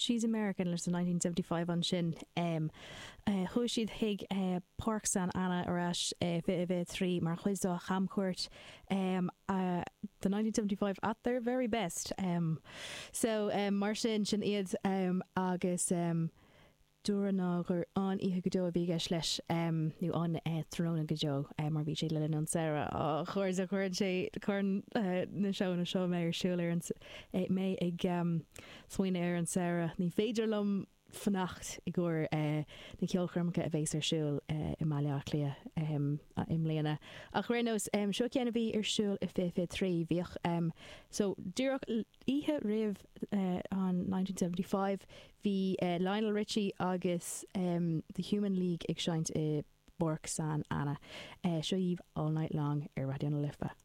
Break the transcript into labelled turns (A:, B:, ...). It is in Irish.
A: She's American leis The 1975 ansin. Chuaigh siad chuig Páirc San Anna ar ais i 2023 mar chuid dá chamchuairt The 1975 at their very best. So mar sin, sin iad agus. Dúradh ná gur an-oíche go deo a bhí i gceist leis, nó an-tráthnóna go deo, mar bhí sé le linn an samhradh. Á, a chairde, cuireann sé, cuireann na seónna seo mé ar siúl ar an, mé ag smaoineamh ar an samhradh. Ní féidir liom fanacht i gcomhair na ceolchoirmeacha a bhéas ar siúl i mBaile Átha Cliath i mbliana. Ach ar aon nós, seo ceann a bhí ar siúl i 2023. Bhíodh, so, díreach oíche roimh an 1975, Bhí Lionel Richie agus The Human League ag seinnt i bPáirc San Anna. Seo dhaoibh All Night Long ar Raidió na Life.